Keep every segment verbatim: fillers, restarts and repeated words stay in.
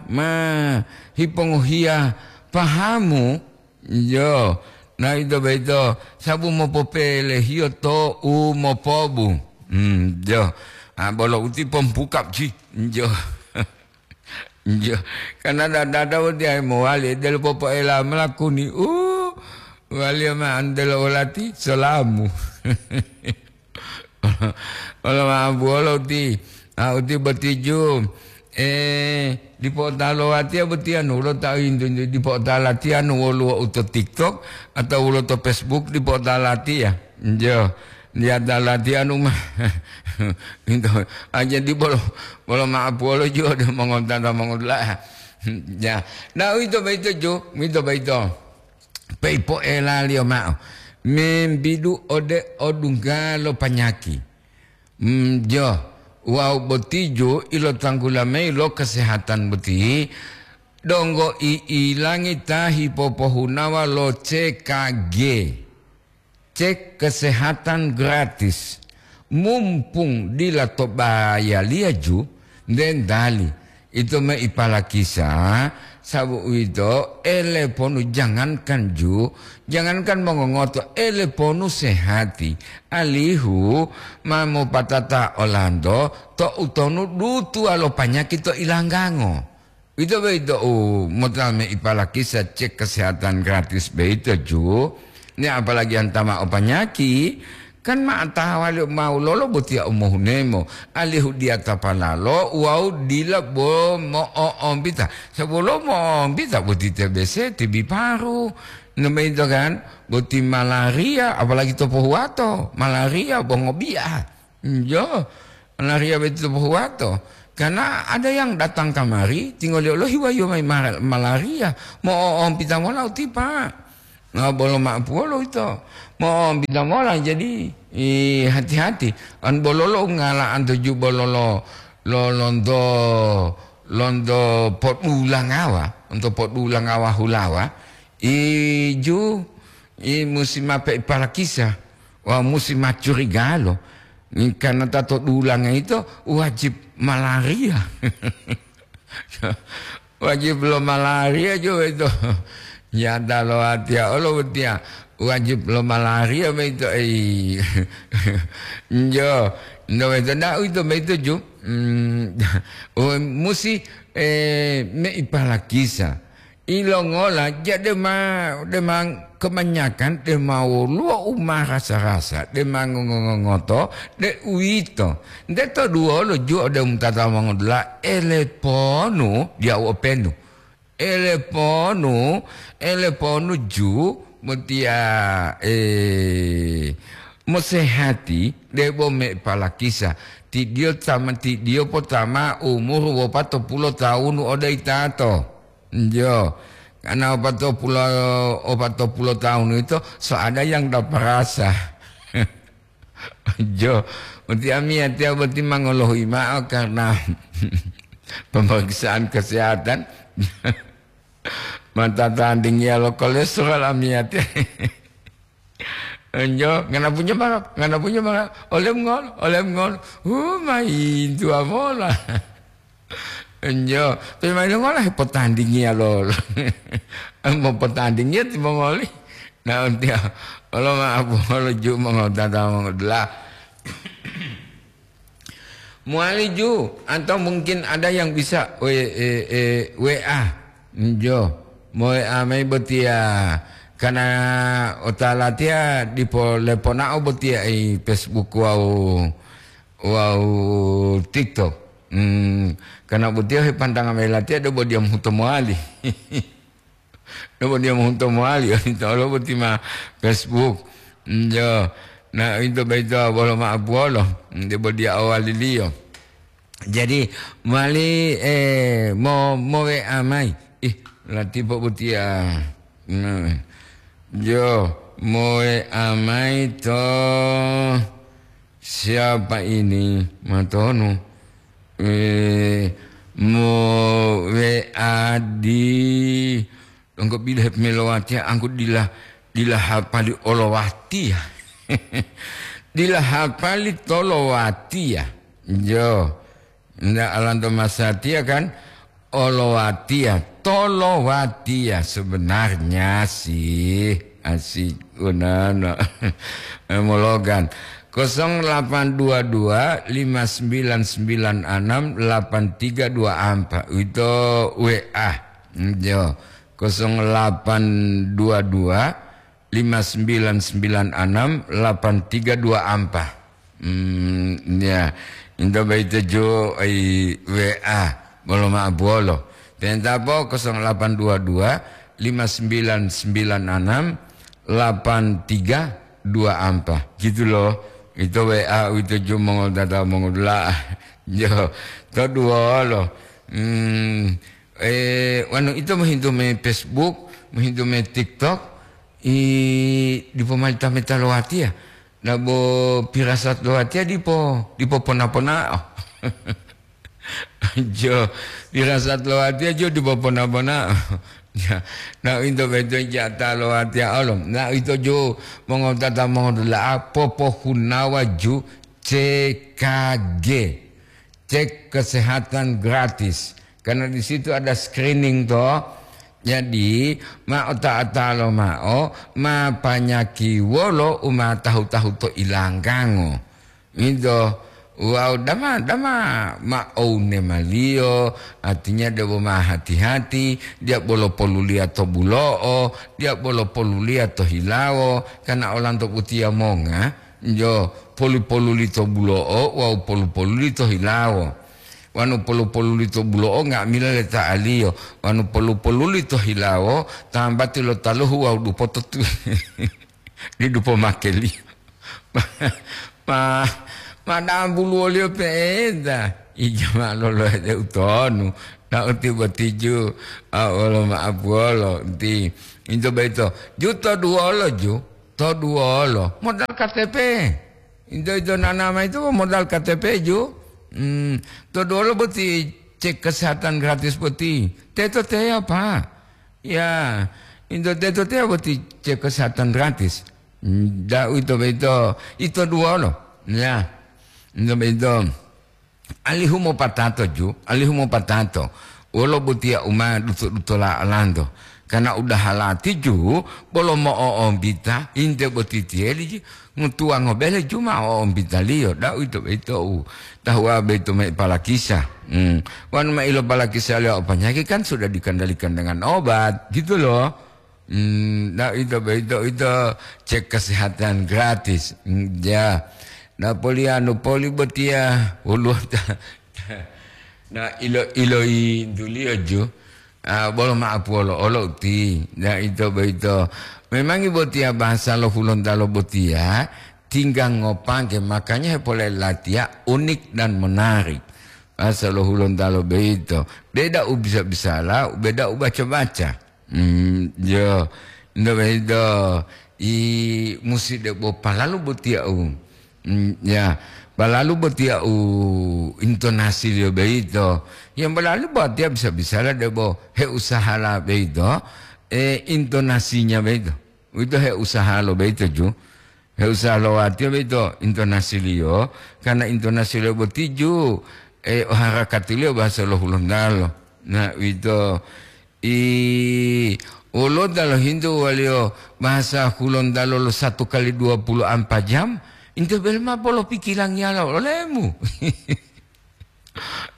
ma hipongohiya pahamu, jo, na ito boyito sabu mopopelehiyo to u mopobu. Hmm, jo. Ah, bolo uti pompukap ji. Jo. Jo. Karena dada-dada uti ai mowali delo popoela melakuni. Uh, wali ma andelo olati salamu. Wolo ma'abuwolo uti, ah, uti botiju. Eh, dipo ta lo watiya botiya nulo ta intu, dipo ta latiya nu woluwo u to TikTok atau wolo to Facebook dipo ta latiya. Jo, dia ta latiya nu ma. Intu, ah, jadi bolo, bolo ma'abuwolo ju ode mongotata mongotula'a. Ya, nah, uwito boyito ju, uwito boyito. Pei poelaliyo ma'o, membidu ode odungga lo panyaki. Mm, jo, wawu botiju ilotanggula mayi lo kesehatan boti, donggo i'ilangi ta hipopohunawa lo C K G. Cek kesehatan gratis. Mumpung dila to bayaliya ju, dendali. Ito me ipalakisa, sabu uwito, ele ponu jangankan ju, jangankan mongongoto, ele ponu sehati, alihu ma mopatata olanto to utonu dutuwa lo panyaki to ilanggango. Ito boyito u mota me ipalakisa cek kesehatan gratis boyito ju, ne apalagi antama o panyaki, Kan ma tawa liyo mau lolo botiya u mohunemo, alihu diyata palalo wawu dila bo mo'o'ombita. Sabulo mo'o'ombita boti T B C, T B paru, nambayito kan, boti malaria, apalagi to pohuwato, malaria bo ngobiya. Iyo, malaria boti to pohuwato. Karena ada yang datang kamari, tingoliyo lohiwayo mayi mar-, malaria, mo'o'ombita mola utipa. Nah, bolo ma'apuwolo ito. Mo'ombita mola, jadi, i, hati-hati. An bololo ungala anto ju bololo lo lonto, lonto podulangawa, onto podulangawa hulawa, iju, i musi mape ipalakisa, wa musi macurigalo. Karena tato dulanga ito wajib malaria. Wajib lo malaria jo ito. Nyata lo watiya olo botiya wajib lo malaria boyito, ei. Njo, njo boyito, nda uwito boyito ju. Mm, o, musi, eh, me ipalakisa. Ilongola, ja dema, dema kebanyakan dema woluwo u marasa-rasa, dema ngongo-ngongoto, de uwito. Nte to duwolo ju ode umutata mongodula, ele ponu, diya u openu. Ele ponu, ele ponu ju, motiya, eh, mosehati, debo me palakisa. Tidiyo tama, tidiyo potama umuru wopatopulo tawunu ode itato. Njo, karena opatopulo, opatopulo tawunu ito, so ada yang daparasa. Jo, uti amiyatiya boti mangolohuyi ma'o karena pemeriksaan kesehatan. Mata tandingiya lo kolesterol amiyatiya. Jo, ngana punyo mangap, ngana punyo mangap. Olem ngol, olem ngol. Hu, mayi tuwa mola. Enjo, pe mayi longola hepotandingiya lolo. Mopotandingiya timongoli. Nah, untiya, olo ma'apu olo ju mongotata mongodula. Mowali ju, atau mungkin ada yang bisa we-, e-, e-, W A. Enjo, mo W A mayi botiya. Karena otalatiya dipo leponao botiya i Facebook wawu, wawu TikTok. Hmm, karena botiya hepantanga mayi latiya debo diya mohuto mowali. Debo diya mohuto mowali, odito olo boti ma Facebook. Njo, na ito boyito bolo ma'apuwolo, debo diya owaliliyo. Jadi, mowali, eh, mo, mo-W A mayi. Ih, latipo botiya. Nah, jo, mo-W A mayi to siapa ini? Matonu. Eh, mo-W A di, donggo bile hepemilowatiya, angku dila, dila hapali olowatiya. Dila hapali tolowatiya. Jo. Nda alanto masatiya kan, Olowatiya, tolowatiya sebenarnya sih. Asik, unana. Mologan. Kosong delapan dua dua, lima sembilan sembilan enam, delapan tiga dua empat. Itu W A. Yo. Kosong delapan dua dua, lima sembilan sembilan enam, delapan tiga dua empat. Hmm, ya. Into baito jo ai W A, bolo ma'o buwolo. Tentapo kosong delapan dua dua, lima sembilan sembilan enam, delapan tiga dua empat. Gitu loh. Itu W A itu jo mongol data mongol dula. Jo, to duwolo. Hmm, eh, wanu itu mohintu me Facebook, mohintu me TikTok, i dipo mali tameta lo watiya. Nabo pirasat lo watiya dipo, dipo pona-ponao. Jo, pirasat lo watiya jo dipo pona-ponao. Ya, na into beto jata lo watiya olo. Na ito jo mongotata mongodula'a popohunawa ju C K G. Cek kesehatan gratis. Karena di situ ada screening to. Jadi, ma ota'a-ta'a lomao, ma panyaki wolo u ma tahu-tahu to ilanggango. Ito, wawu dama-dama ma oune maliyo, artinya debo ma hati-hati, dia bolo poluliya to bulo'o, dia bolo poluliya to hilawo, karena olanto utiya monga, jo, polu-poluli to bulo'o wawu polu-poluli to hilawo. Wanu polu-poluli to bulo'o nga'amila leta'aliyo, wanu polu-poluli to hilawo tambati lo taluhu wawu dupoto tu di dupo makeliyo. Ma, ma, ma dambuluwoliyo pe'enta, ija ma lolohe de utonu, na uti botiju, a, wolo ma'apuwolo, nti, into boyito, ju to duwolo ju, to duwolo, modal K T P. Into, into nana ma itu modal K T P ju. Hmm, to duwolo boti cek kesehatan gratis boti. Teto teya, Pak. Ya, into teto teya boti cek kesehatan gratis. Hmm, da uwito boyito, ito duwolo. Ya, into boyito. Alihu mopatato ju, alihu mopatato. Wolo botiya u ma duto-dutola olanto. Karena udaha lati ju, bolo mo'o'ombita, inte boti tiyeli ji, ngotuwango bele ju ma o'ombitaliyo, da uwito boyito u tahuwa boyito ma ipalakisa. Hmm. Wanu ma ilopalakisa liyo o panyaki kan sudah dikendalikan dengan obat, gitu loh. Hmm, nah, itu, itu, itu cek kesehatan gratis. Hmm, ya. Nah, polianu poli botiya, uluwata. Nah, ilo, ilointuliyo ju. Ah, bolo ma'apuwolo olo uti. Nah, itu, itu. Memang botiya bahasa lo Hulontalo botiya, tingga ngopangke, makanya hepole latiya unik dan menarik. Bahasa lo Hulontalo boyito. Beda u bisa-bisala, beda u baca-baca. Hmm, yo, nto boyito, i musi debo palalu botiya u, hmm, ya, palalu botiya u intonasiliyo boyito. Yang palalu botiya bisa-bisala debo heusahala boyito, eh, intonasinya boyito. Uwito heusahalo boyito ju. Heusaha lo watiya boyito intonasiliyo, karena intonasiliyo boti ju, eh, o harakatiliyo bahasa lo Hulontalo. Nah, uwito, i, woluwo ta lohintu waliyo bahasa Hulontalo lo satu kali dua puluh ampat jam, inte bele ma polopikilangiyala olemu.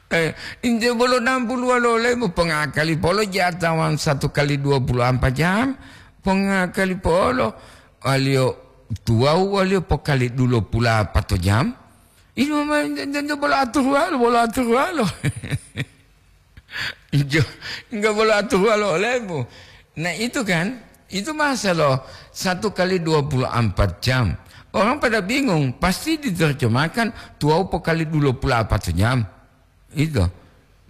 Eh, inte bolo nampuluwalo olemu, pongakali polo jatawan satu kali dua puluh ampat jam, pongakali polo, waliyo tuwawu waliyo pokali dulo pulapato jam. Ini ma, inte, inte bolo aturuwalo, bolo aturuwalo. Jo, enggak bolo aturuwalo olemu. Nah, itu kan, itu masalah satu kali dua puluh ampat jam. Orang pada bingung, pasti diterjemahkan tuwawu pokali dulo pulapato jam. Itu.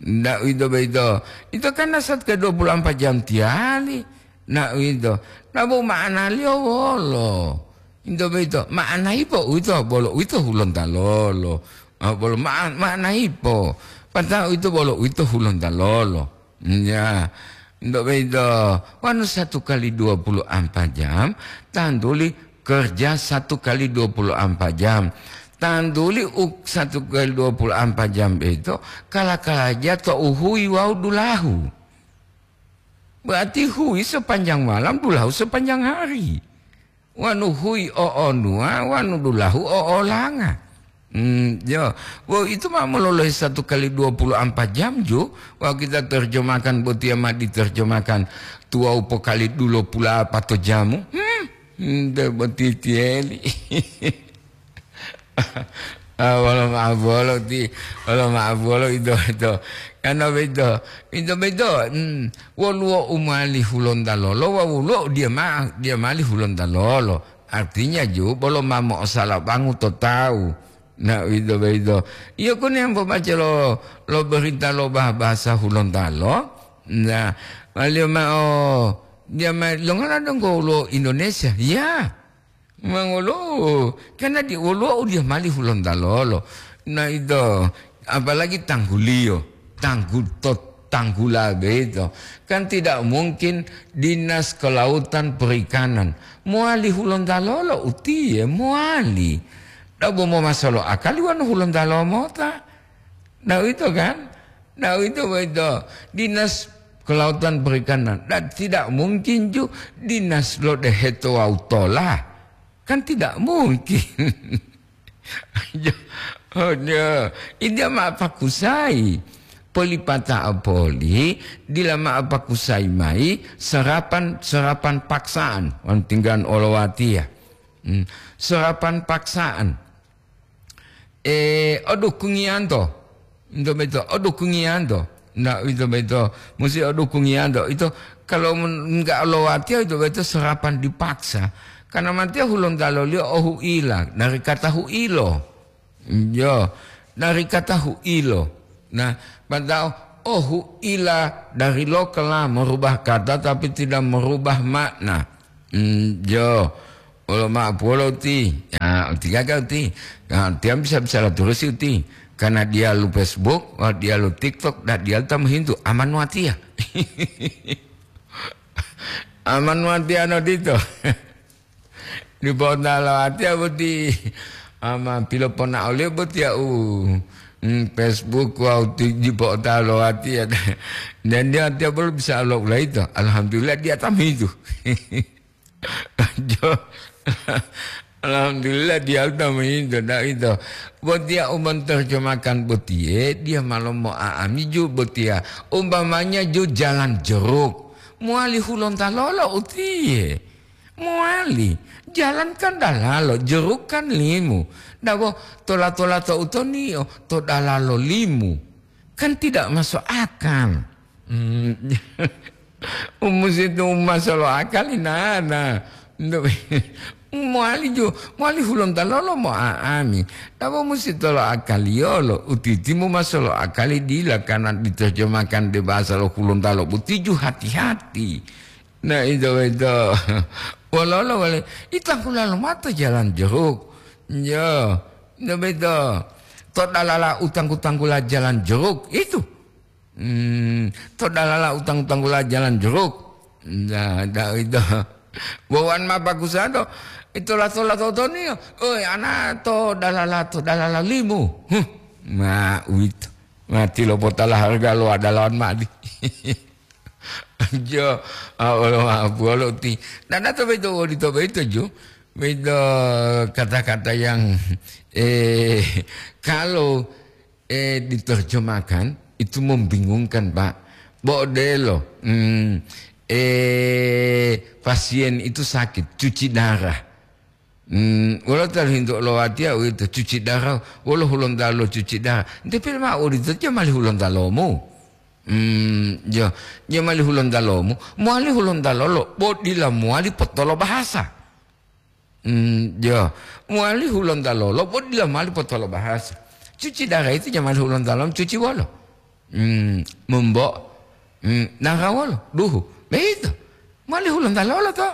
Ndak itu begitu. Itu kan nasat ke dua puluh ampat jam tiali. Nah, itu. Nah, bu maknaliyo wolo. Itu begitu. Makna ipo uwito, bolo uwito Hulontalo. Ah, bolo ma-, makna ipo. Pata'u itu bolo uwito Hulontalo. Ya. Untuk begitu, wanu satu kali dua puluh empat jam, tantuli kerja satu kali dua puluh empat jam. Tantuli u satu kali dua puluh empat jam boyito, kala-kalaja to u huyi wawu dulahu. Berarti huyi sepanjang malam, dulahu sepanjang hari. Wanu huyi o onuwa, wanu dulahu o olanga. Hmm, yo. Wo, itu ma mololohe satu kali dua puluh empat jam ju. Wawu kita terjemahkan botiya ma diterjemahkan tuwawu pokali dulo pula pato jamu. Hmm, nte boti tiyeli. Ah, wolo ma'o bolo ti, wolo ma'o bolo ito, ito. Karena beto, ito beto, hmm, woluwo u mowali hulontalo lo, wa woluwo u diya ma-, diya mowali hulontalo lo. Artinya ju, bolo ma mo'osalabangu to tawu. Nah, uwito boyito. Iyo, kuni ambo baca lo, lo berita lo bah-, bahasa hulontalo. Nah, waliyo ma'o, diya ma-, longola donggo lo Indonesia? Ya. Mangolo, karena di woluwo u diya mowali hulontalo lo. Nah, ito, apalagi tangguliyo, tanggu-, to-, tanggula boyito. Kan tidak mungkin Dinas Kelautan Perikanan mowali hulontalo lo utiye, mowali. Dabo momasolo akali wonu hulontalo mota. Nah, uwito kan? Nah, uwito boyito. Dinas Kelautan Perikanan. Dan tidak mungkin ju dinas lo deheto wawu tola. Kan tidak mungkin. Jo-, oh, jo. India ma pakusai. Polipata poli, dila ma pakusai mayi serapan, serapan paksaan. Wan tinggan olowatiya. Hmm. Serapan paksaan. Eh, o dukungiyanto. Ito boyito, o dukungiyanto. Nah, ito boyito, musi o dukungiyanto. Ito, kalau men-, enggak lowatiya, ito boyito serapan dipaksa. Karena matiya hulontaloliyo o hu'ila, dari kata hu'ilo. Yo, dari kata hu'ilo. Nah, padahal o hu'ila dari lokal lah merubah kata, tapi tidak merubah makna. Hmm, jo. Wolo ma'o puwolo uti. Ya, uti gaga uti. Ya, tiang bisa-bisa la turusi uti. Karena diyalu Facebook, wah, diyalu TikTok, dan diyalu ta mohintu. Aman watiya. Aman watiya no dito. Di pota lo watiya boti. Ama pilopona oliyo boti ya u, mm, Facebook wawu ti-, di pota lo watiya. Dan dia tiap belum bisa lo ulaito. Alhamdulillah dia tam itu. Jo. Alhamdulillah, dia udah menginto, ndak itu. Botiya u menterjemahkan botiye, dia malah mau aamiju botiya. Umpamanya ju jalan jeruk. Muali hulonta lolo utiye. Muali. Jalan kan dalalo, jeruk kan limu. Dabo tola-tola to utonio, to dalalo limu. Kan tidak masuk akal. Hmm. Umusitu umasolo akali nana. Muali ju, muali hulonta lolo mo aami. Nabo musi tolo akaliyolo, utitimu masolo akali dila karena diterjemahkan de bahasa lo hulontalo butiju hati-hati. Nah, itu, itu. Wololo wale, itangkula lomato jalan jeruk. Yo, itu beto. To dalala utangku-tangkula jalan jeruk, itu. Hmm, to dalala utang-utanggula jalan jeruk. Nah, da itu. Bawan ma bagusa do. Itulah tola totoniyo. Oi, ana to dalala, to dalala limu. Huh. Ma uwito. Mati lo potala harga lo adalah mati. Jo, awalo apualo ti. Nana to beto wodi to beto jo. Beto kata-kata yang, eh, kalau eh, diterjemahkan, itu membingungkan, Pak. Bo odelo, hmm, eh, pasien itu sakit, cuci darah. Hmm, wolo talu hintu lo watiya uwito, cuci darah, wolo hulontalo cuci darah. Nte pil ma odito jamali hulontalomu. Hmm, jo, jamali hulontalomu, muali hulontalo lo, bo dila muali potolo bahasa. Hmm, jo. Muali hulonta lolo, bo dila mali potolo bahasa. Cuci darah itu jamali hulonta lolo, cuci wolo. Hmm, membo. Hmm, nara wolo, duhu. Begitu. Muali hulonta lolo to.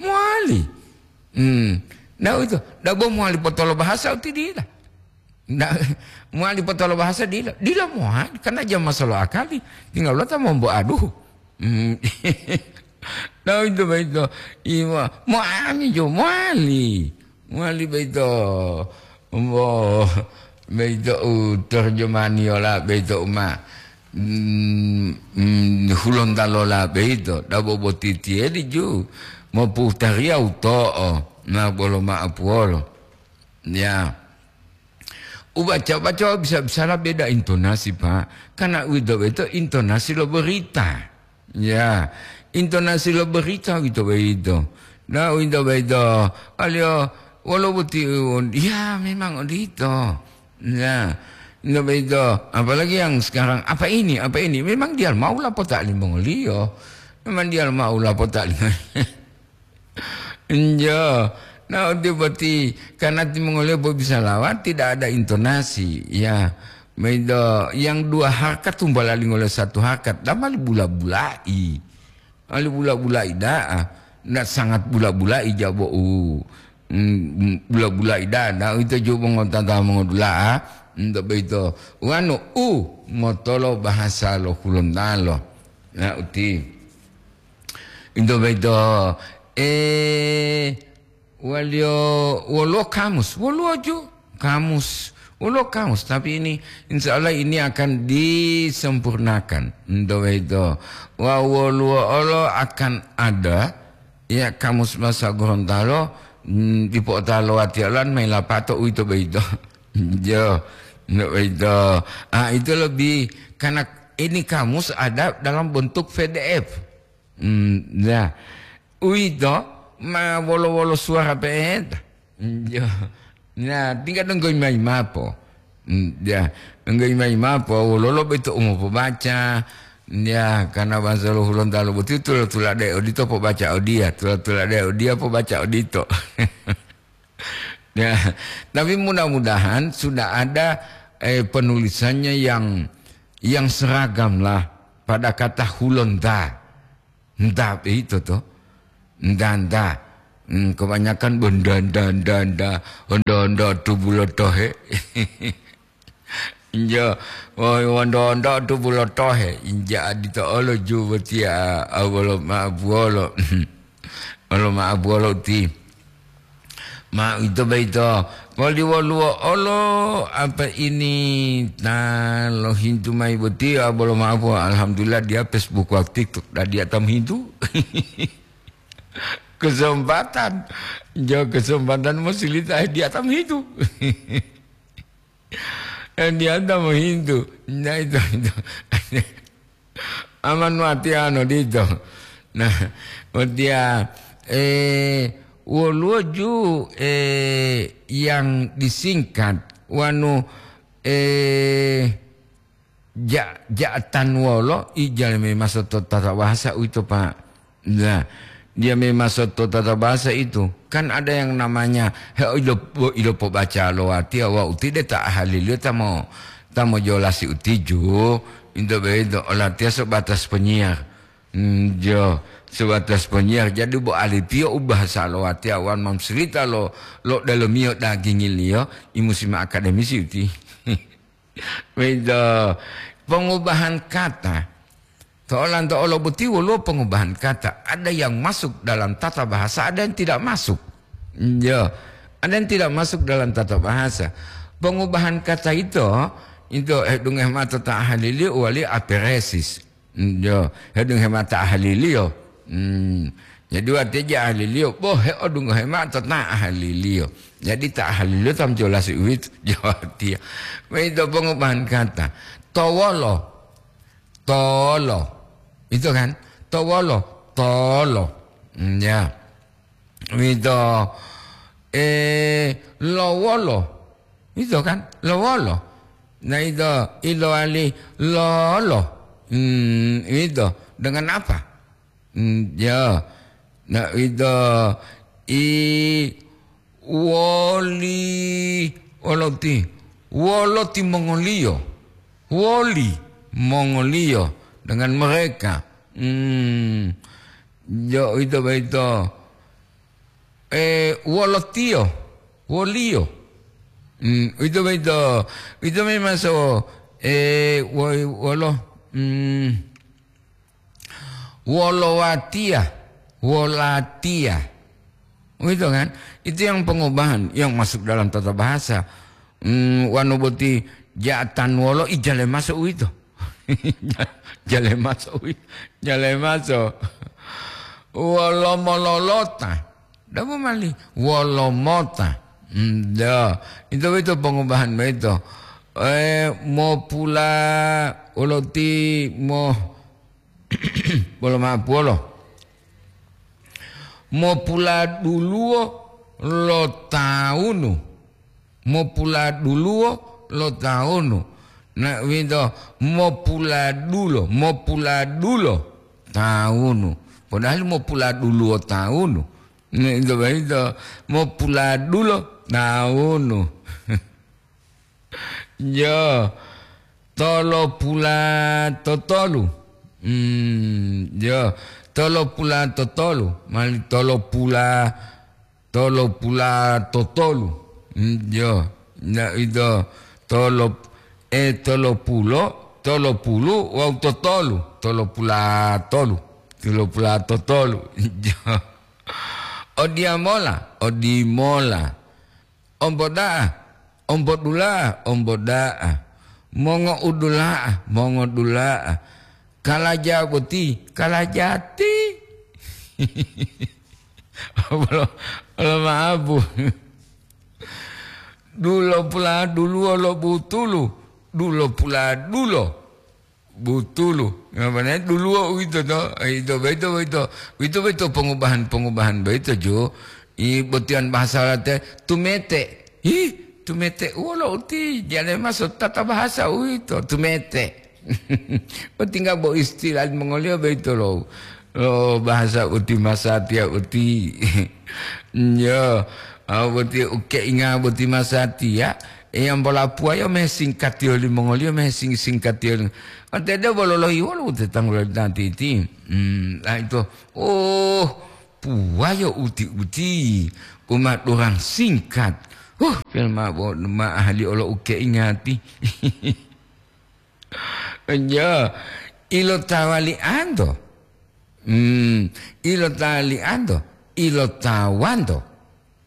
Muali. Hmm. Nah, itu. Dabo muali potolo bahasa uti dila. Nah, muali potolo bahasa dila. Dila muali, karena jam masolo akali. Tinggal lota mombo aduhu. Hmm. Nah, itu begitu. Ima, mo ami jo, muali. Muali begitu. Wo, beito u terjemaniyola beito uma, mm, mm, Hulontalola beito, dabo boti tiyedi ju, moputariya uto'o, na bolo ma'apuwolo. Ya. Ubaca-baca bisa-bisala beda intonasi, Pak. Karena uwito beito intonasi lo berita. Ya, intonasi lo berita uwito boyito. Nah, uwito boyito, aliyo wolo boti, ya, memang odito. Ya, uwito boyito, apalagi yang sekarang, "Apa ini? Apa ini?" Memang dia mau lapota limongoliyo. Memang dia mau lapota limongoliyo. Enjo. Nah, uwito boti, karena timongoliyo bo bisa lawan, tidak ada intonasi. Ya, boyito, yang dua harkat tumbala lingoliyo satu harkat, damali bula-bulai. Ali bula-bula'i da'a, na sangat bula-bula'i jabo'u. Mm, mm, bula-bula'i da'a, na ito jubo ngotata mongodula'a, ento boyito. Wanu u motolo bahasa lo Hulontalo. Na uti. Ento boyito, eh, Waliyo woluwo kamus, woluwo ju kamus, woluwo kamus. Tapi ini, insya Allah ini akan disempurnakan. Ento boyito. Wa woluwo olo akan ada, ya, kamus bahasa Gorontalo, mm, dipo otalo watiya lan mayi lapato uwito boyito. Jo, ento boyito. Ah, itu lebih, karena ini kamus ada dalam bentuk P D F. Hmm, ya. Uwito ma wolo-wolo suwara pe'enta. Hmm, ya. Nah, tinggal donggo mayi mapo. Hmm, ya. Donggo mayi mapo, wololo boyito u mopobaca. Ya, karena bahasa lo Hulontalo boti tula-tulade odito pobaca odiya, tula-tulade odiya pobaca odito. Ya, tapi mudah-mudahan sudah ada, eh, penulisannya yang, yang seragam lah pada kata Hulonta. Nta itu to. Nta, nta. Hmm, kebanyakan benda, nda, nda, nda. Onda, onda, tubulo tohe. Injo, woi, onda-onda tu bulotohe, inja adito olo ju botiya, a, wolo ma'abuwolo. Wolo ma'abuwolo uti. Ma ito boyito, poliwoluwo olo apa ini ta lohintu mayi boti, a, bolo ma'abuwolo. Alhamdulillah dia Facebook wawu TikTok, dadiya ta mohintu. Kesempatan. Jo kesempatan mosilita, eh, dia ta mohintu. Eh, dia ta mohintu. Nah, itu, itu. Aman watiya ano dito. Nah, watiya, eh, woluwo ju, eh, yang disingkat wanu, eh, ja-, ja'atan wolo ijal memaso to tata bahasa uwito, Pak. Nah, dia memaso to tata bahasa itu, kan ada yang namanya, he, ilo, ilo pobaca lo watiya wa utide ta ahaliliyo ta mo, ta mojolasi utiju, into begitu, olatiya sebatas penyiar. Hmm, jo, sebatas penyiar. Jadi, bo alipiyo u bahasa lo watiya wan mamsurita lo, lo delomiyo dagingiliyo, i musim akademisi uti. Begitu. Pengubahan kata. To'olanto olo boti woluwo pengubahan kata. Ada yang masuk dalam tata bahasa, ada yang tidak masuk. Ya. Ada yang tidak masuk dalam tata bahasa. Pengubahan kata itu, itu, eh, dungeh mata ta ahaliliyo wali aperesis. Hmm, yo, hedunghe mao ta ahaliliyo. Hmm. Jadi, watiya ja ahaliliyo, bo heodungohe mao to ta ahaliliyo. Jadi, ta ahaliliyo ta mojolasi uwito, jo watiya. Uwito pongubahan kata. Towolo, tolo. Itu kan? Towolo, tolo. Hmm, ya. Wito, eh, lowolo. Wito kan? Lowolo. Nah, ito, ilowali lolo. Hmm, wito. Dengan apa? Hmm, ya. Nah, wito, i, woli, woloti. Woloti mongoliyo. Woli mongoliyo dengan mereka. Hmm. Jo, ito, baito. Eh, wolotiyo, woliyo. Hmm, uwito boyito, uwito memaso, eh, wo-, wolo, hmm, wolowatiya, wolatiya. Uwito kan? Itu yang pengubahan yang masuk dalam tata bahasa. mm, wanu boti ja'atan wolo ijale maso uwito. Jale maso uwito. Jale maso. Wolo mololota. Dabo mali. Wolo mota. Mm, ya. Ito boyito pongubahan boyito. Eh, mopula oloti mo-, bolo ma'apuwolo. Mopuladuluwo lo tawunu. Mopuladuluwo lo tawunu. Na, uwito mopuladulo, mopuladulo tawunu. Padahal mopuladuluwo tawunu. Uwito boyito mopuladulo tawunu. Yo, tolopula totolu. Hmm, yo, tolopula totolu. Mali tolopula, tolopula totolu. Hmm, yo, na ito tolop-, eh, tolopulo, tolopulu wawu totolu. Tolopula tolu. Tolopula totolu. Yo. Odiyamola, odimola. Omboda'a, ombodula'a, omboda'a. Mongo'udula'a, mongodula'a. Kalaja boti, kalajati. Bolo, bolo ma'abu. Dulo pula duluwo lo butulu, dulo pula dulo. Butulu. Ngapane duluwo uwito to? Ito boyito, boyito. Uwito boyito pongubahan-pongubahan boyito, ju. I botiyan bahasa late, tumete. Hi, tumete wolo uti, jale maso tata bahasa uwito, tumete. Botingga bo istilah mongoliyo boyito lo. Oh, bahasa uti masatiya uti. Yo, ah, boti ukeinga boti masatiya. Eyam bola puwayo me singkatiyo limongoliyo, me sing-, singkatiyo lim-, ante de bolo lohiwolo ute tanggulo tantiti. Hmm, ah, ito. Oh, puwayo uti-uti. Uma durang singkat. Huh, pelma bo-, ma ahli olo ukeingati. Iya, ilotawali'anto. Hmm, ilotali'anto, ilotawanto.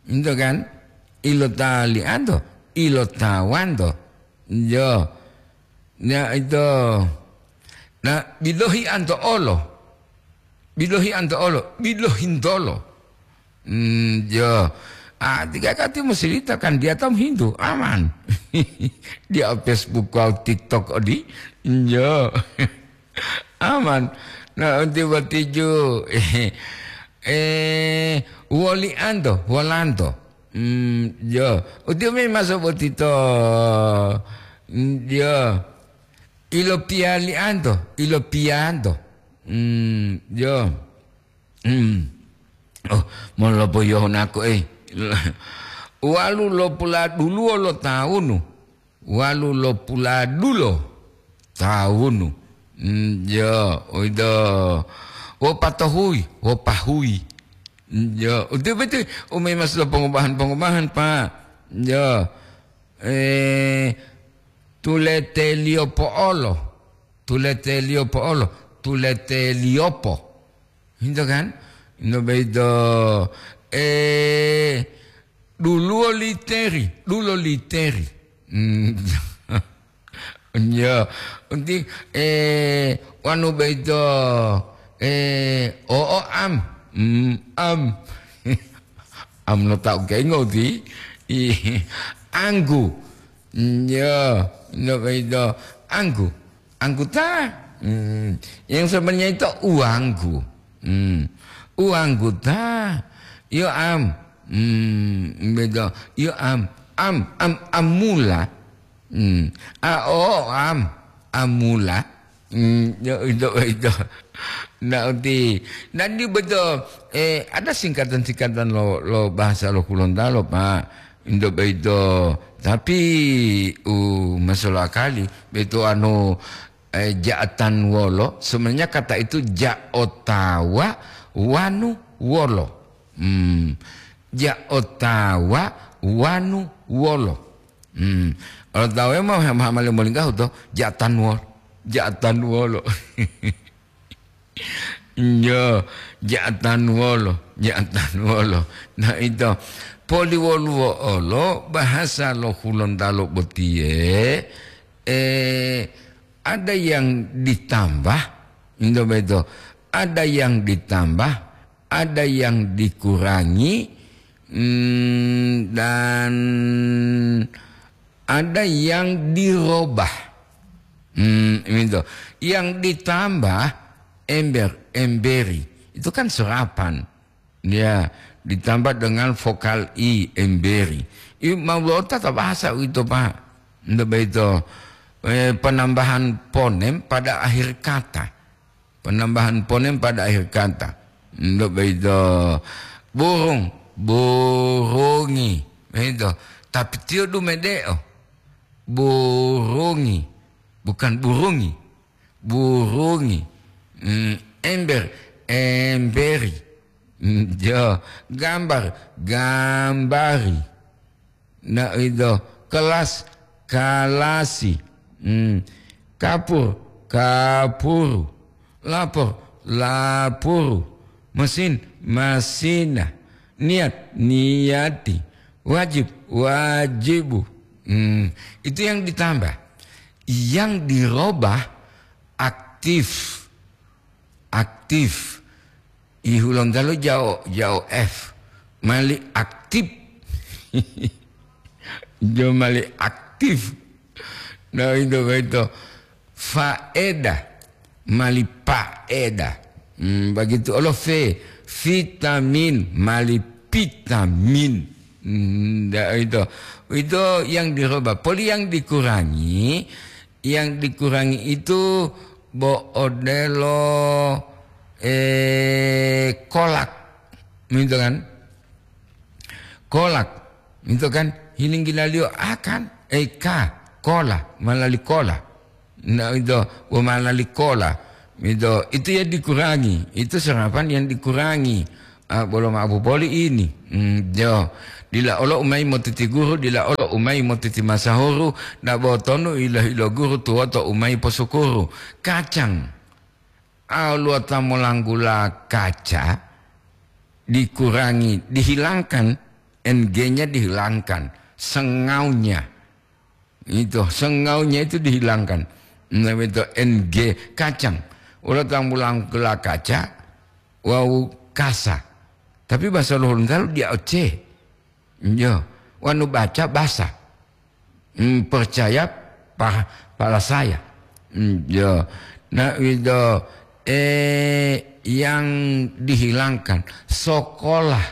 Ento kan? Ilotali'anto, ilotawanto. Iya. Nah, ito. Nah, bilohi anto olo. Bilohi anto olo, bilohintolo. Hmm, yo. Ah, tiga kati musilita kan dia tam Hindu, aman. Dia Facebook kau TikTok odi. Yo. Aman. Nah, unti batiju. Eh, woli anto, wolanto. Hmm, yo. Uti umi masuk botito. Hmm, yo. Ilo piali anto, ilo pianto. Hmm, yo. Hmm. Oh, molopo yohonako, eh. Walu lopula duluwo lo tawunu. Walu lopula dulo tawunu. Hmm, yo, uwito. Wopatohuyi, wopahuyi. Hmm, yo, uti betul. Umi mas lo pongubahan-pongubahan, Pak. Yo. Eh, tuleteliyo po'olo. Tuleteliyo po'olo. Tuleteliyopo. Hinto kan? Hinto boyito, eh, duluwo literi, dulo literi. Hmm. Iya, unti, eh, wanu boyito, eh, o'o am. Hmm, am. Am no tau kengo ti. Ih, anggu. Iya, no boyito anggu. Anggota. Hmm. Yang sebenarnya itu uangku. Hmm. Uangku ta. Yo am. Hmm, beda. Yo am. Am, am, amula. Hmm. A, o, am. Amula. Hmm, yo, itu, itu. Nah, uti. Dan di betul, eh, ada singkatan-singkatan lo, lo bahasa lo Gorontalo, Pak. Indo boyito, tapi u masolo akali, boyito anu, eh, ja'atan wolo, sebenarnya kata itu ja otawa wanu wolo. Hmm. Ja otawa wanu wolo. Hmm. Otawa ma, ma, ma, molinggahu to, ja'atan wolo. Ja'atan wolo. Yo, ja'atan wolo, ja'atan wolo. Nah, ito, poliwoluwo olo bahasa lo Hulontalo botiye, eh, ada yang ditambah, ito beto, ada yang ditambah, ada yang dikurangi, mm, dan ada yang dirobah. Hmm, itu. Yang ditambah ember, emberi. Itu kan serapan. Ya, ditambah dengan vokal i, emberi. I, mau lo tata bahasa itu, Pak. Ndak begitu. Eh, penambahan ponem pada akhir kata. Penambahan ponem pada akhir kata. Ndak begitu. Burung, burungi. Begitu. Tapi tiyo dumedeo. Burungi. Bukan burungi. Burungi. Hmm, ember, emberi. Hmm, jo. Gambar, gambari. Nah, itu. Kelas, kalasi. Hmm. Kapur, kapuru. Lapor, lapuru. Mesin, masina. Niat, niati. Wajib, wajibu. Hmm. Itu yang ditambah. Yang dirobah aktif. Aktif. I Hulontalo jao, jao F. Mali aktif. Jo mali aktif. Nah, itu, itu. Faedah. Mali paedah. Hmm, begitu. Olo V. Vitamin. Mali vitamin. Hmm, ndak itu. Itu yang dirubah. Poli yang dikurangi, yang dikurangi itu bo odelo, eh, kolak. Gitu kan? Kolak. Gitu kan? Hilinggilaliyo akan, eh, ka, kola, malali kola. Nah, itu, bo malali kola. Itu, itu ya dikurangi. Itu serapan yang dikurangi. Ah, bolo ma'o popoli ini. Hmm, jo. Dila olo umai motiti guru, dila olo umai motiti masahuru, na botonu ilo-ilo guru tuwoto umai posukuru. Kacang. Aluwata molanggula kaca dikurangi, dihilangkan, N G-nya dihilangkan, sengaunya. Itu, sengaunya itu dihilangkan. Nah, itu N G, kacang. Ulo tambulangkula kaca, wawu kasa. Tapi bahasa Loh Gorontalo dia O C. Yo, wanu baca basa. Hmm, percaya pa-, pala saya. Hmm, yo. Nah, itu, eh, yang dihilangkan. Sekolah,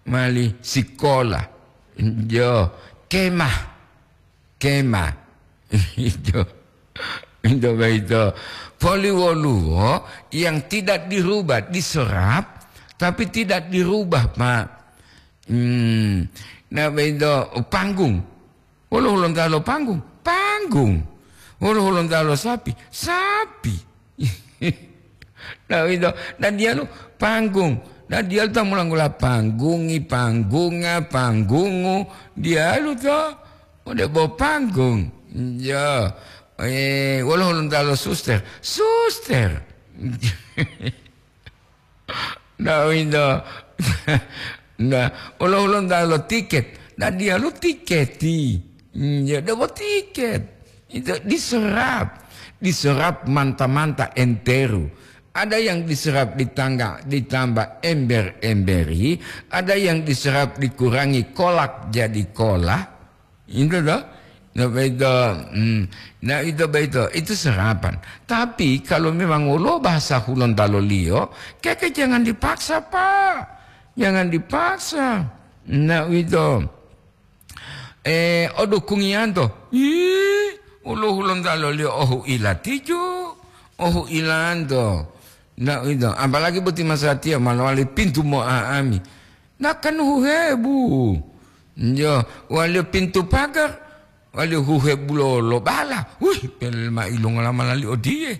mali sekolah. Yo, kemah. Kema. Itu. Itu begitu. Poliwoluwo yang tidak dirubah, diserap, tapi tidak dirubah, Pak. Hmm. Nah, begitu, panggung. Wolo Hulontalo panggung? Panggung. Wolo Hulontalo sapi? Sapi. Nah, itu. Nah, diyalu panggung. Nah, diyalu ta mulanggula panggungi, panggunga, panggungu. Diyalu to. Ode bo panggung. Ya. Eh, wolo Hulontalo suster? Suster. Nah, itu. Nah, wolo Hulontalo tiket? Nah, diyalu tiketi. Hmm, ya, debo tiket. Itu diserap. Diserap manta-manta enteru. Ada yang diserap ditangga-, ditambah ember-emberi, ada yang diserap dikurangi kolak jadi kola. Itu toh. Nah, itu, hmm, nah, itu begitu. Itu serapan. Tapi kalau memang wolo bahasa Hulontalo liyo, keke jangan dipaksa, Pak. Jangan dipaksa. Nah, itu. Eh, o dukungiyanto. Ih, wolo Hulontalo liyo ohu ilatijo. Ohu ilanto. Nah, itu. Apalagi boti masatiya ma lowali pintu mo'a'ami. Nakanu huhebu. Yo, waliyo pintu pagar, waliyo huhebu lo, lo bala. Wih, pel ma ilongola malali odiye.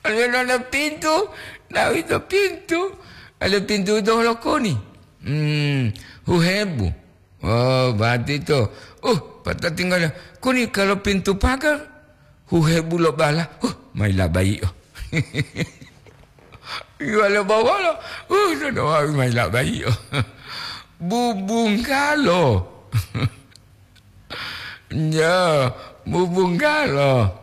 Waliyo nona pintu, na wito pintu. Waliyo pintu ito holokoni. Hmm, huhebu. Oh, berarti to. Uh, pata tinggal. Kuni kalau pintu pagar, huhebu lo bala. Huh, mai labai, oh. Iwalo bowolo, uh, dodowawi mayi labaiyo. Bubunggalo. Ya, bubunggalo.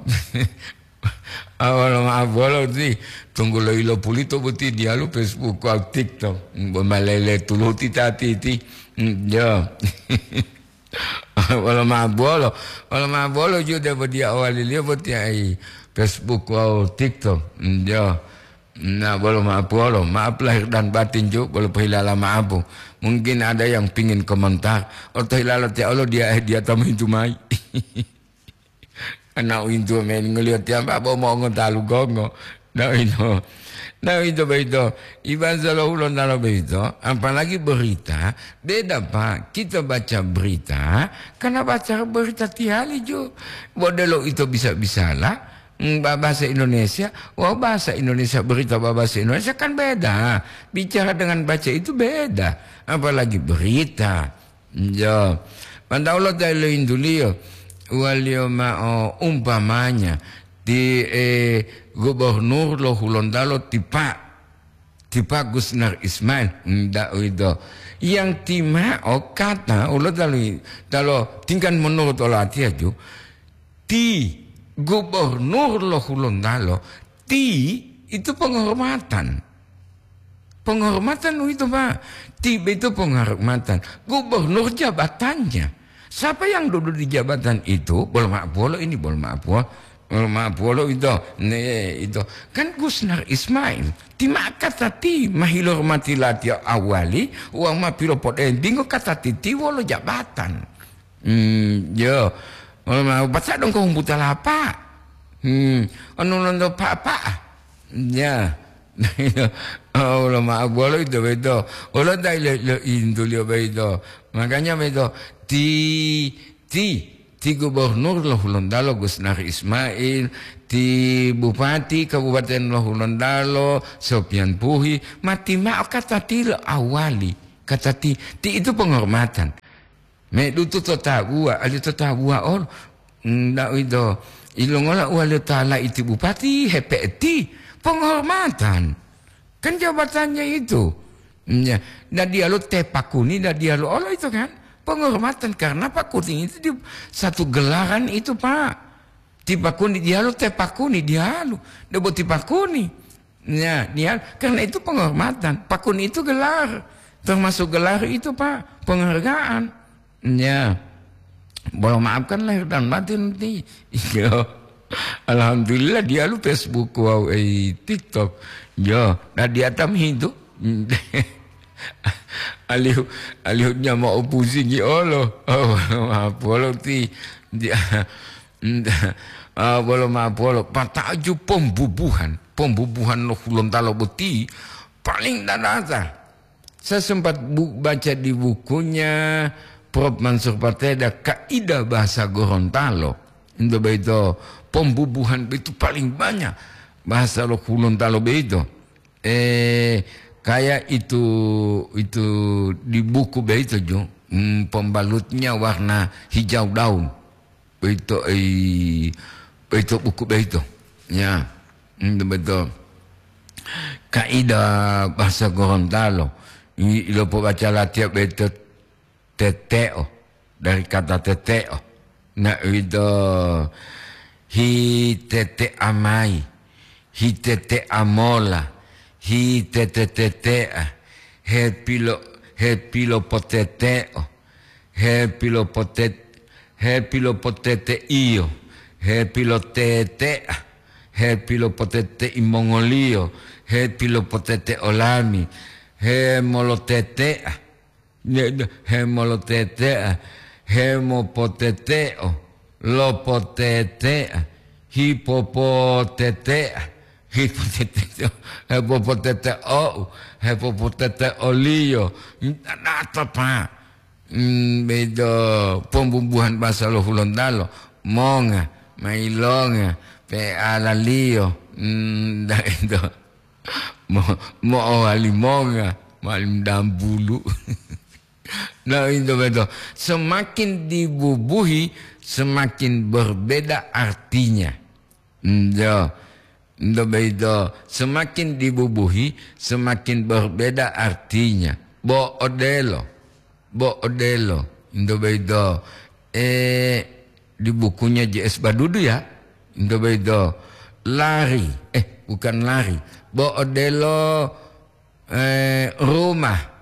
Awalo ma'o bolo ti, tunggulo ilo pulito boti diyalu Facebook wawu TikTok. Bo malele tuluti tatiti. Ya. Wolo ma'o bolo, wolo ma'o bolo ju debo diya owaliliyo boti ai Facebook wawu TikTok. Ya. Na bolo ma'o bolo, maaf lahir dan batin ju, bolo pohilala ma'apu. Mungkin ada yang pingin komentar. Oto hilala tiya olo diya, eh, diya tamu hintu mayi. Ana uwinto men ngoliyo tiyamba bo mongo talu gongo. Na uwito. Na uwito boyito. Ibansa lo Hulontalo boyito, apalagi berita, beda, Pak. Kita baca berita, karena baca berita tihali ju. Bo delo ito bisa-bisala, mm, ba-, bahasa Indonesia, wah, bahasa Indonesia, berita ba-, bahasa Indonesia kan beda. Bicara dengan baca itu beda. Apalagi berita. Ya, mantaulo ta ilointuliyo, waliyo ma'o umpamanya ti, eh, gubernur lo Hulontalo ti Pak, ti Pak Gusnar Ismail, ndak uwito. Yang ti ma'o kata ulo talo, talo tingkat menurut olatiyaju, ti gubernur lo Hulontalo, ti itu penghormatan. Penghormatan uwito, Pak. Tibe itu penghormatan. Gubernur jabatannya. Siapa yang duduk di jabatan itu? Bolo ma'o puwolo ini, bolo ma'o puwolo. Bolo ma'o puwolo itu. Ne, itu. Kan Gusnar Ismail. Ti ma'o kata ti mahilormati latiya awali, wawu ma pilopodembingo kata titi wolo jabatan. Hmm, yo. Bolo ma'o baca dongko humbuta lapa. Hmm, anu lonto papa. Ya. Oh, lo ma'o bolo ito boyito. Olo ta ilo, lo intuliyo boyito. Makanya boyito, ti, ti, ti gubernur lo Hulontalo Gusnar Ismail, ti bupati Kabupaten lo Hulontalo Sopian Puhi, mati ma'o kata ti lo awali. Kata ti, ti itu penghormatan. Medutu to tabuwa, ali to tabuwa olo. Nda uwito, ilongola uwaliyo ta laiti bupati hepe'eti? Penghormatan. Kan jabatannya itu. Ya, nda diyalu te pakuni, nda diyalu olo itu kan. Penghormatan karena pakuni itu di satu gelaran itu, Pak. Ti pakuni diyalu, te pakuni diyalu. Debo ti pakuni. Ya, diyalu. Karena itu penghormatan. Pakuni itu gelar. Termasuk gelar itu, Pak, penghargaan. Ya. Bolo maafkan lahir dan batin ti. Iya. Alhamdulillah diyalu Facebook wawu, eh, TikTok. Ya, nah di atam itu. Alihu, alihu nyama opusingi olo. Oh, maaf, olo ti. Dia, ah, bolo maaf, olo. Pata'aju pembubuhan. Pembubuhan lo Hulontalo boti paling dadata. Saya sempat bu-, baca di bukunya Prof Mansur Pateda, Kaidah Bahasa Gorontalo. Itu begitu, pembubuhan itu paling banyak bahasa lo Hulontalo begitu. Eh, kayak itu, itu di buku begitu, Ju. Hmm, pembalutnya warna hijau daun. Boyito, ei, boyito buku boyito. Ya, hmm, betul. Kaidah bahasa Gorontalo. I-, ilopobaca latiya boyito teteo, dari kata teteo. Na uwito, hi tetea mayi, hi tetea mola, hi tete-tetea, he pilo-, he pilopoteteo. He pilopotet-, he pilopoteteiyo, he pilotetea, he pilopotetei mongoliyo, he pilopotete olami, he molotetea, ne-, ne-, he molotetea, he mopoteteo, lopotetea, hipopotetea, hipopoteteo, hepopoteteou, hepopoteteoliyo. Data, Pak. Hmm, bedo pembubuhan bahasa lo Hulontalo, monga, mailonga, pealaliyo, hmm, da ito. Mo-, mo'owali monga, malim dambulu. Nah, itu betul. Semakin dibubuhi, semakin berbeda artinya. Hmm, ya. Ndo boyito, semakin dibubuhi, semakin berbeda artinya. Bo odelo, bo odelo. Ndo boyito, eh, di bukunya J S Badudu ya. Ndo boyito, lari, eh, bukan lari. Bo odelo, eh, rumah.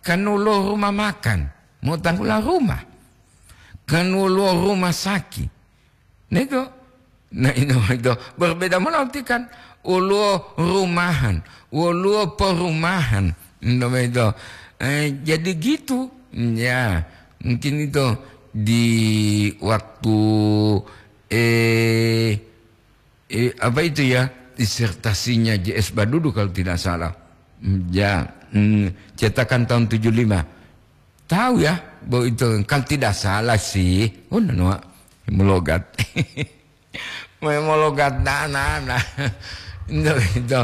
Kan woluwo rumah makan, mo tanggula rumah. Kan woluwo rumah saki. Neto, na ino ito berbeda molaoti kan. Woluwo rumahan, woluwo perumahan. Ino ito. Eh, jadi gitu. Ya, mungkin itu di waktu, eh, eh, apa itu ya, disertasinya J S Badudu kalau tidak salah. Hmm, ya, hmm, cetakan tahun tujuh lima. Tahu ya, bahwa itu kalau tidak salah sih. Oh, nanoa, mologat. Memologat nana. Itu, itu.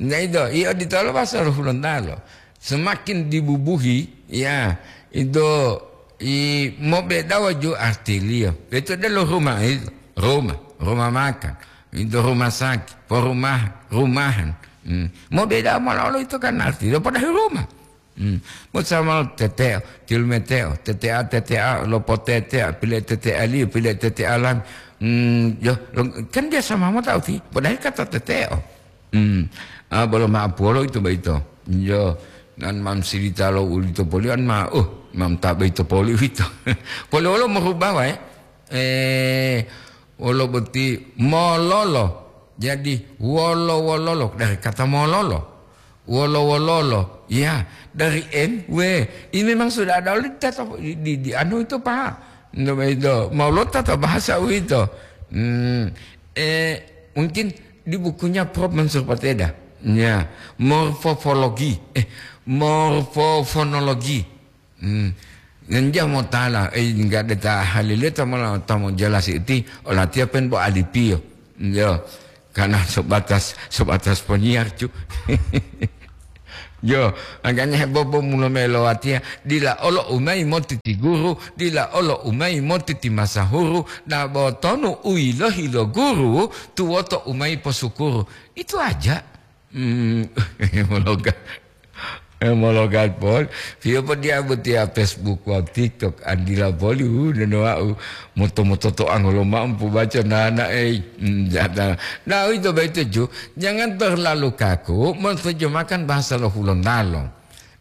Nah, itu, iya ditolo pasal Hulontalo. Semakin dibubuhi, ya, itu i mobedawa ju artiliyo. Itu adalah rumah itu. Rumah, rumah makan. Itu rumah sakit, perumahan, rumahan. Hmm. Mobedawa malolo itu kan artiliyo padahal rumah. Hmm. Mo sama teteo, tilmeteo, tetea, tetea, lopotetea, pile tetea liyo, pile tetea lami. Hmm, yo, lo-, kan dia sama mota uti, padahal kata teteo. Hmm. Ah, bolo ma apuolo itu baito. Yo, nan mam silita lo ulito poli an ma, uh, mam tabe ito poli uwito. Poli wolo morubawa, eh. Eh, wolo boti mololo. Jadi, wolo-wololo dari kata mololo. Wolo-wololo. Ya, dari M W. Ini memang sudah ada oleh tata di, di, di anu itu, Pak. Namanya itu, mau lo tata bahasa uwito. Hmm, eh, mungkin di bukunya Prof Mansur Pateda. Ya, morfofologi, eh, morfofonologi. Hmm. Ngenja motala, eh, enggak ada ta halileta mola ta mo jelas iti, olatiya pen bo alipiyo. Yo, karena sebatas, sebatas penyiar, cu. Yo, makanya bobo mulo melo watiya, dila olo umai moti ti guru, dila olo umai moti ti masahuru, na botonu uilohi lo guru, tuwoto umai posukuru. Itu aja. Hmm, mologa. Eh, mologa pol. Piyo po dia botiya Facebook wawu TikTok, andila poli, uh, neno wau. Moto-moto to angolo ma'o pobaca nana, ei. Hmm, jata. Nah, itu baik tuju. Jangan terlalu kaku menerjemahkan bahasa lo Hulontalo.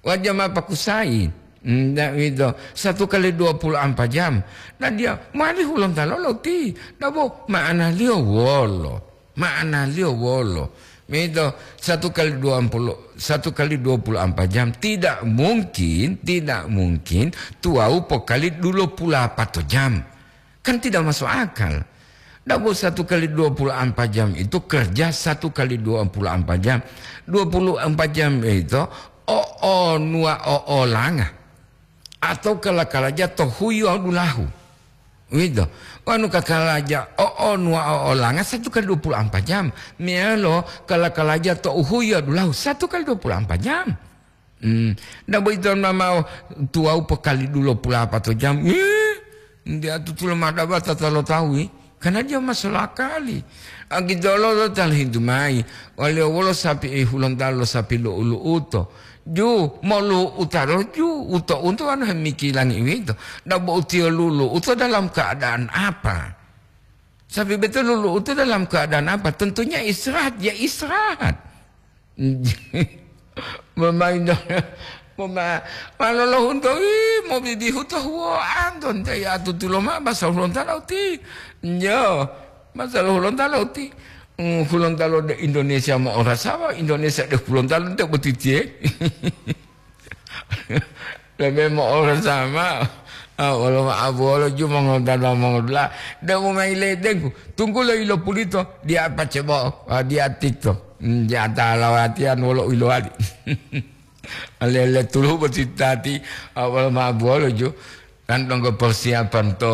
Wajah ma pakusai. Hmm, nah, itu. Satu kali dua puluh empat jam. Nah, dia mali Hulontalo lo ti. Nah, bo, ma'analiyo wolo. Ma'analiyo wolo? Mito, satu kali dua puluh, satu kali dua puluh empat jam, tidak mungkin, tidak mungkin tuwawu pokali dulopulu apato jam. Kan tidak masuk akal. Dabo satu kali dua puluh empat jam itu kerja satu kali dua puluh empat jam. Dua puluh empat jam itu o'onuwa o'olanga. Atau kala-kalaja to huyi wawu dulahu. Uwito. Wonu kakalaja o'onuwa o'olanga satu kali dua puluh empat jam. Meyalo kala-kalaja to uhuyi wawu dulahu satu kali dua puluh empat jam. Hmm. Nda boyito ma mao tuwawu pokali dulopulu apato jam. Ih, nde atutulo ma daba tata lo tawu, ih. Karena dia masuk akali. Agitolo lo ta lohintu mayi, waliyo wolo sapi, eh, Hulontalo lo sapi lu'u-lu'uto. Ju, molu'uta lo ju, uto untu anu hemikilangi uwito. Dabo utiyo lulu'uto dalam keadaan apa? Sapi beto lulu'uto dalam keadaan apa? Tentunya istirahat, ya istirahat. Memain mema-, malolohunto, ih, mobibihu to huwoanto, nte ya tutulo ma basa Hulontalo ti. Njo, basa lo Hulontalo ti. Mm, Hulontalo de Indonesia mo'orasawa, Indonesia de Hulontalo nte botitiye. Lebe mo'orasama. Ah, wolo ma'abuwolo ju mongontalo mongodula. De mo mayi ledengku. Tunggulo ilo pulito, dia pacebo, ah, dia tikto. Hmm, dia talawatian wolo ilowali. Lele tulu boti tati, ah, wolo ma'abuwolo ju. Kan donggo persiapan to,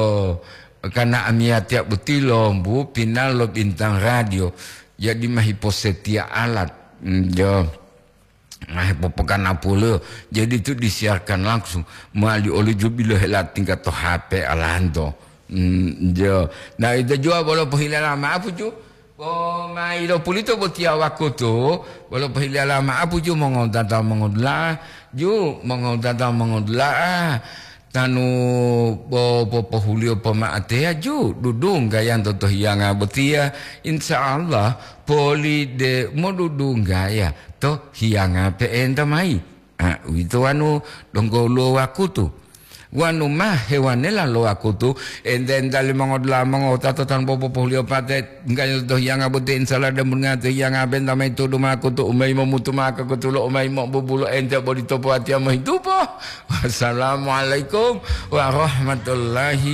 karena amiyatiya boti lombu pinal lo Bintang Radio. Jadi mahiposetia alat. Hmm, jo. Nah, popokanapuliyo. Jadi itu disiarkan langsung. Mali oli ju bilo hela tingkat to H P alanto. Hmm, jo. Nah, itu jua bolo pohilala maaf ju. Bo mayi lo pulito botiya wakutu, bolo pohiliyala ma'apu ju mongowutata mongodula'a, ju mongowutata mongodula'a, tanu bo popohuliyo poma'ateya ju dudunggayanto to hiyanga botiya, insya Allah poli de modudunggaya to hiyanga pe'enta mayi. Ah, uwito wanu donggo woluwo wakutu. Wanu ma hewanela lo wakutu, ente-ente limongoliyo mongo wutato tanpa popohuliyo pate, enggayo to hiyanga boti insala dan bunga to hiyanga benta mayi tudu makutu, umayi momutu maka kutulo, umayi mobubulo ente boli topo watiya mohitupo. Wassalamualaikum warahmatullahi